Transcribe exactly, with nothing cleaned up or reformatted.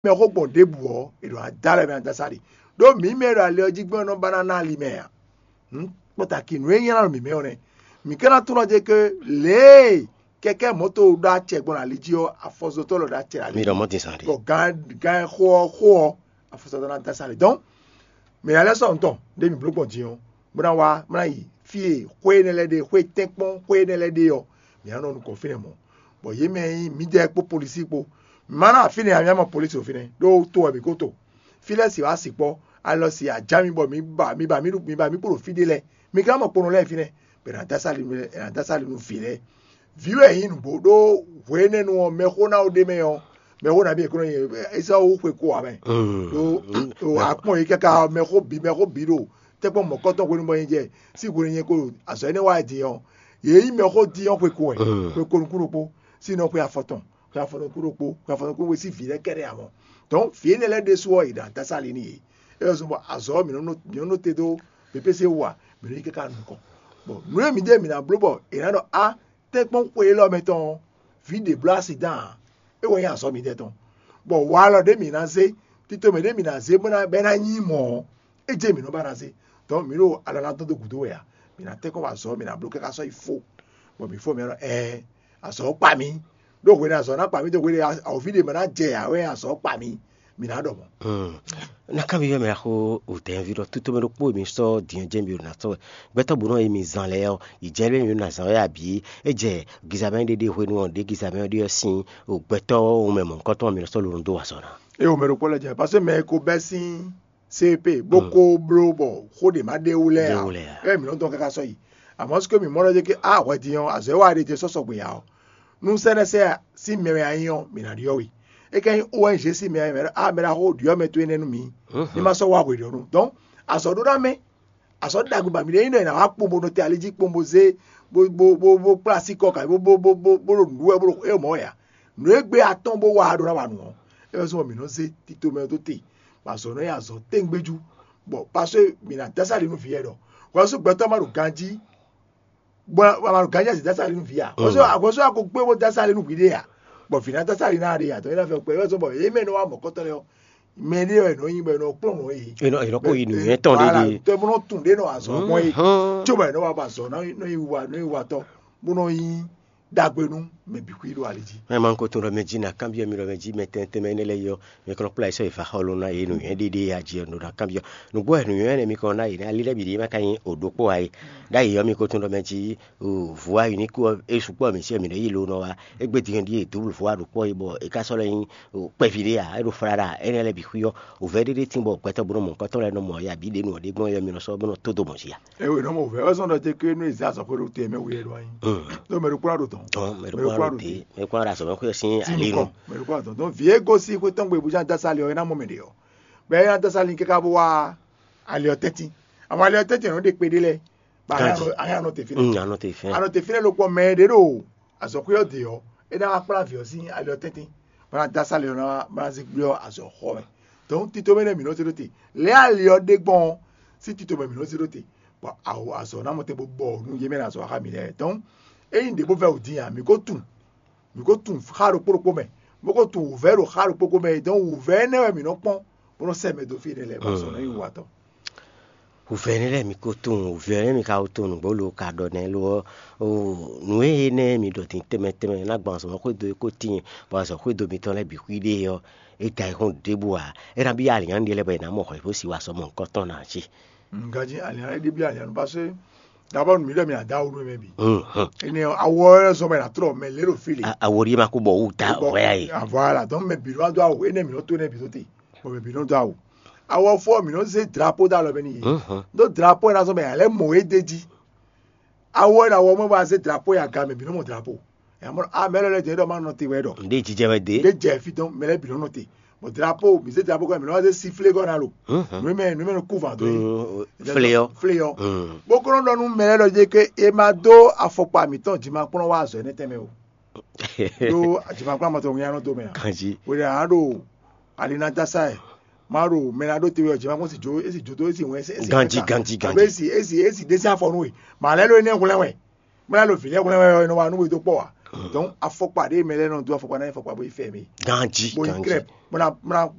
mɛ xó gbɔn ɖěbǔ ɔ́, è ɖo adá lɛ́ɛ mɛ adásá ɖe. Ɖó mǐ mɛ e ɖo ali ɔ́ jí gbɔn ɔ́ nɔ ba ná ná ali mɛ ǎ. Hǔn kpɔ́ta ki nǔ e nyí ná ɖo mǐ mɛ ɔ́ nɛ́. Mǐ ka ná tunwun ná jɛ ke lě e kɛkɛ́ mɔ̌to ɖó acɛ gbɔn ali jí ɔ́, afɔzɔtɔ́ lɔ ɖó acɛ ali. Mi ɖɔ mɔ̌ din zan ɖe. Bɔ gán gán xó ɔ́ xó ɔ́, afɔzɔtɔ́ ná dá sá lě. Dɔn mǐ ná lɛ́ sɔ́ nǔ tɔn ɖé mǐ bló gbɔn din ɔ́, bó ná wá bó ná yi fí e xwé énɛ́ lɛ́ɛ ɖe, xwé tɛ́nkpɔ́n xwé énɛ́ lɛ́ɛ ɖe ɔ́, mǐ ná nɔ nukɔn fínɛ́ mɔ̌. Bɔ yě mɛ e nyí mǐdɛɛ kpó polisí kpó, mǐ ma ná wá fínɛ́ ǎ, mǐ ná mɔ polisí ɖo fínɛ́ ɖó to wɛ mǐ ko to. Fí lɛ́ɛ si wá sikpɔ́, alɔ si ajá mi bɔ mi ba mi ba mi ɖu mi ba mi kpo ɖo fí ɖé lɛ́ɛ, mi ka mɔ kponɔ lɛ́ɛ fínɛ́, bɔ è nǎ dó asá li nú è nǎ dó asá li nú vǐ lɛ́ɛ. Vǐ wɛ nyí nǔgbó ɖó hwe énɛ́ nu ɔ́, mɛxó ná ɖé mɛ ɔ́, mɛxó nabí è kó nɔ nyi Esau xwe ko ǎ mɛ. Ɖó ɖo akpɔ́n yě káká ɔ́, mɛxó bǐ mɛxó bǐ ɖo tɛ́nkpɔ́n mɔ̌kɔtɔn hwenu bɔ nyɛ jɛ sín hwenu nyɛ ko azɔ̌ énɛ́ wa din ɔ́, yě nyí mɛxó din ɔ́ xwe ko wɛ, xwe ko nukún ɖokpó, sín nɔ xwe afɔtɔn, xwe afɔtɔn kú ɖokpó, xwe afɔtɔn kú ɖokpó sín vǐ lɛ́ɛ kɛ́ɖɛ́ ǎ mɔ. Dɔ̌n vǐ énɛ́ lɛ́ɛ ɖésú ɔ́, è ɖǎ dá sá ali n'i. É wɛ zɔ́n bɔ azɔ̌ ɔ́, mǐ nɔ nɔ- mǐ nɔ nɔte dó pépése wú ǎ, mǐ nɔ yi káká nukɔn. Bɔ nǔ e mǐdɛɛ mǐ ná bló bɔ è nǎ ɖɔ á tɛ́nkpɔ́n xwe élɔ́ mɛ tɔn ɔ́, vǐ ɖě bló asi dán ǎ. É wɛ nyí azɔ̌ mǐdɛɛ tɔn. Bɔ walɔ ɖé mǐ ná zé, tito mɛ ɖé mǐ ná zé bó ná bɛ́ ná nyí mɔ̌ ɔ́, é jɛ mǐ nɔ ba ná zé. Dɔ̌n mǐ ɖo alɔ ná dɔn dó gǔdo wɛ ǎ. Mǐ ná tɛ́nkpɔ́n wa azɔ̌, mǐ ná bló káká sɔ́ yi fó. Bɔ mǐ fó mǐ ɖɔ ɛɛ, azɔ̌ kpa mí. Ɖó hwenu azɔ̌ ná kpa mí dó hwenu awǒvi ɖé mɛ ná jɛ ǎ wɛ azɔ̌ kpa mí, mǐ ná ɖɔ mɔ̌. Na kanbyɔ́ mɛ axó wǔtɛ́nví ɖɔ tutomɛ ɖokpó e mi sɔ́ din ɔ́ jɛ́n mi ɖo ná sɔ́ wɛ. Gbɛtɔ́ bǔ nɔ e mi zan lɛ́ɛ ɔ́, yi jɛ lé mi ɖo ná zan wɛ abǐ? É jɛ gizamɛ ɖé ɖe hwenu ɔ́ ɖě gizamɛ ɔ́ ɖe ɔ́ sín o gbɛtɔ́ wunmɛ mɔ̌hunkɔtɔn ɔ́ mi nɔ sɔ́ lǒ ɖó azɔ̌ ná. É wǒ mɛ ɖokpó lɛ́ɛ jɛ, paseke mɛ e ko bɛ́ sín C P bó ko bló bɔ xó ɖě má ɖe wú lɛ́ɛ ǎ. Ɛ mǐ nɔ dɔn káká sɔ́ yi. Amɔ̌ sukú mǐ mɔ ɖɔ jɛ ké á hwɛ din ɔ́, azɔ̌ e wa ɖe jɛ sɔ́ sɔgbe ǎ ɔ́, nú sɛ́nɛ́ sɛ́ sín mɛ wɛ a nyí ɔ́, mǐ ná ɖyɔ́ we. É ka nyí O N G sín mɛ wɛ mɛ ɖɔ á mɛ ɖaxó ɖyɔ́ mɛ towe nɛ́ nú mǐ, ní ma sɔ́ wá hweɖyɔ́nu. Dɔn azɔ̌ ɖó ná mɛ, azɔ̌ ɖagbe ba mǐ ɖe nyí ɖɔ è nǎ wá kpɔ́n bó nɔ te ali jí kpɔ́n bó zé bó bó bó bó kplá así kɔ ka bó bó bó bó bó ɖo nǔɖuɖu wɛ bó ɖo éyɔ́ mɔ̌ wɛ ǎ. Nǔ e gbé atɔ́n bó wa ɖó ná wa nǔ ɔ́, é wɛ zɔ́n bɔ mǐ nɔ zé tito mɛ ɔ́ dó te, bɔ azɔ̌ nɔ nyí azɔ̌ tɛ́ngbéjú, bɔ pasó mǐ ná dó asá ɖi nú vǐ yɛ ɖɔ hwɛsú gbɛtɔ́ ma ɖo ganjí, bɔ ma ɖo ganjí azǐ dó asá ɖi nú vǐ ǎ. Hwɛsú hwɛsú a ko gbé bó dó asá ɖi nú vǐ ɖé ǎ, bɔ vǐ ná dó asá ɖi ná ɖe ǎ. Dɔn é ná fɛ kpɛ é wɛ zɔ́n bɔ yě mɛ nɔ wá mɔ̌kɔtɔn lɛ́ɛ ɔ́, mɛ ɖé wɛ nɔ nyi bɔ è nɔ kplɔ́n nǔ e yě. È nɔ è nɔ kó yi nǔnywɛ́ tɔn ɖé ɖe. Tɔ bó nɔ tún ɖé nɔ azɔ̌ gbɔn é, có bɔ è nɔ wá ba azɔ̌ nɔ nɔ yi wa nɔ yi wa tɔ bó nɔ nyi ɖagbe nú mɛ bǐ xwí ɖo ali jí. Mɛ ma ko tún ɖɔ mɛ jí na kanbyɔ́ mi ɖɔ mɛ jí mɛ tɛntɛn mɛ énɛ́ lɛ́ɛ yɔ mi kɔ nɔ kplá yi sɔ́ yi va xɔ ló ná yě nǔnywɛ́ ɖé ɖé a jí ɔ́ nɔ ɖo kanbyɔ́. Nǔgbó wɛ nǔnywɛ́ énɛ́ mi kɔ ná yě nɛ́ ali lɛ́ɛ bǐ ɖíe ma ka nyí o ɖokpó ǎ é. Ɖ'ayǐ ɔ́ mi ko tún ɖɔ mɛ jí vǔ ayǐ ní kú ɔ́ é sukpɔ́ mǐ sí ɔ́ mǐ nɔ yi lo nɔ wá. Égbé din ɔ́ ɖíe dǔblu vú wa ɖokpó é bɔ é ka sɔ́ lɛ́ nyí kpɛví ɖé ǎ, é ɖo fláɖa énɛ́ lɛ́ɛ bǐ xwí ɔ́, wǔvɛ́ ɖé ɖé tín bɔ gbɛtɔ́ bó nɔ mɔ nukɔntɔn lɛ́ɛ nɔ mɔ ya bǐ ɖě nú ɔ́ ɖé gbɔn yɔ mi nɔ sɔ́ bó nɔ tó do mɔ jí a. Ewé nɔ mɔ wǔvɛ́ wɛ sɔ́ ɖɔ jɛ ké nú è zé azɔ̌ xwé ɖo te mɛ wú yɛ ɖo anyi. Ɖó mɛ ɖokpó ná ɖo dɔn. Tɔn mɛ ɖokpó ná ɖo te, mɛ ɖokpó ná ɖo azɔ̌ mɛ xwé ɔ́ sín ali nɔ. Mɛ ɖokpó ná ɖo dɔn. Dɔn vǐ e gosín xwé tɔn gbe bó ná dó asá ali ɔ́, é ná mɔ mɛ ɖě ɔ́. Bɔ é ná dó asá ali káká bó wá ali ɔ́ tɛ́ntin. Àmọ́ ali ɔ́ tɛ́ntin ɔ́ nɔ ɖe kpe ɖé lɛ́ɛ. Bɔ a nɔ te fínɛ́. A nɔ te fínɛ́. A nɔ te fínɛ́ lókpɔ mɛ ɖě ɖo azɔ̌xwé ɔ́ dě ɔ́, é ná wá kplá vǐ ɔ́ sín ali ɔ́ tɛ́ntin, bó ná dó asá ali ɔ́ ná wá bó ná zé gblé ɔ́ azɔ̌ xɔ mɛ. Dɔn tito mɛ nɛ́ mǐ nɔ zé ɖó te. Lɛ̌ ali ɔ́ ɖe gbɔn ɔ́, sín tito mɛ mǐ nɔ zé ɖó te, bɔ awo azɔ̌ ná mɔ tɛn bó bɔ nú yě mɛ ɖo azɔ̌ xá mǐ lɛ́ɛ. Dɔn ényí ɖě bó vɛ́ wǔ dín ǎ, mǐ ko tunwun, mǐ ko tunwun xá ɖokpó ɖokpó mɛ, bó ko tunwun wǔvɛ́ ɖo xá ɖokpó ɖokpó mɛ. Dɔn wǔvɛ́ énɛ́ wɛ mǐ nɔ kpɔ́n bó nɔ sɛ́ mɛ dó fí énɛ́ lɛ́ɛ bɔ azɔ̌ nɔ nyí wǔwatɔ́. Wǔvɛ́ énɛ́ lɛ́ɛ mi ko tunwun, wǔvɛ́ énɛ́ mi ka ko tunwun nǔgbó lo ka ɖɔ nɛ́ lo ɔ́, nǔ e énɛ́ mi ɖɔ din tɛnmɛ tɛnmɛ ná gbɔn azɔ̌ xwédo e ko tíin, bɔ azɔ̌ xwédo mitɔn lɛ́ɛ bǐ xwíɖée ɔ́, é da ayǐ xɔ́n ɖěbǔ ǎ. É ná byɔ́ alǐnnyánú ɖé lɛ́ɛ bɔ è nǎ mɔ hwɛ̌ bó si wá sɔ́ mɔ nukɔntɔn ná cí. Ganjí alǐnnyánú é ɖi byɔ́ alǐnnyánú, paseke d'abord nǔ mi ɖɔ mi ná dó awu nú mɛ bǐ. Énɛ́ ɔ́, awu ɔ́ wɛ zɔ́n bɔ è nǎ tlɔ mɛ lě ɖo fí lě. Awu ɔ́ ɖíe ma kó bɔ wú da hwɛ a yě. Voilà, donc mɛ bǐ nɔ dó awu, énɛ́ mǐ nɔ tó énɛ́ bǐ tó te, bɔ mɛ bǐ nɔ dó awu. Awu ɔ́ fó ɔ́, mǐ nɔ zé drapo dó alɔ mɛ n'i. Ɖó drapo e ná zɔ́n bɔ è nǎ lɛ́ mɔ é d'é jí. Awu ɔ́, è nǎ wɔ mɔ̌ bɔ a zé drapo yi aga mɛ bǐ nɔ mɔ drapo. Ɛ mɔ a mɛ lɛ́ɛ lɛ́ɛ jɛ ɖɔ ma nɔ te wɛ ɖɔ. Nde jijɛ wɛ de. Ɖé jɛ fí dɔn mɛ lɛ́ɛ bǐ nɔ nɔ te. Bɔ drapo, mǐ zé drapo kɔ mǐ nɔ wá zé siflé gɔ́ ná lo. Nǔ mɛ nǔ mɛ nɔ kú vǎ dó. Flé ɔ́. Flé ɔ́. Bó kó nɔ ɖɔ nú mɛ lɛ́ɛ ɖɔ jɛ ké e ma dó afɔkpa mǐtɔn jimakplɔ́n wá azɔ̌ énɛ́ tɛnmɛ o. Ɖó jimakplɔ́n amatɔ ŋu ya nɔ dó mɛ a. Ganji. Wele a ɖo ali na dasa ɛ. Ma ɖo mɛ na ɖo te wɛ jimakplɔ́n si jo esi jo dó esi wɛn esi. Ganji ganji ganji. Esi esi esi desi afɔ nú we. Ma lɛ ɖo énɛ́ hwlɛ́n wɛ. Mla lo vǐ lɛ́ɛ hwlɛ́n wɛ ɔ́, è nɔ wa nú we dó kpɔ́ ǎ. Donc afɔkpa ɖé mɛ lɛ́ɛ nɔ dó afɔkpa ná nyí afɔkpa bó yi fɛ mɛ. Ganji, Bó yi ganji. Klɛ́b, bó ná bó ná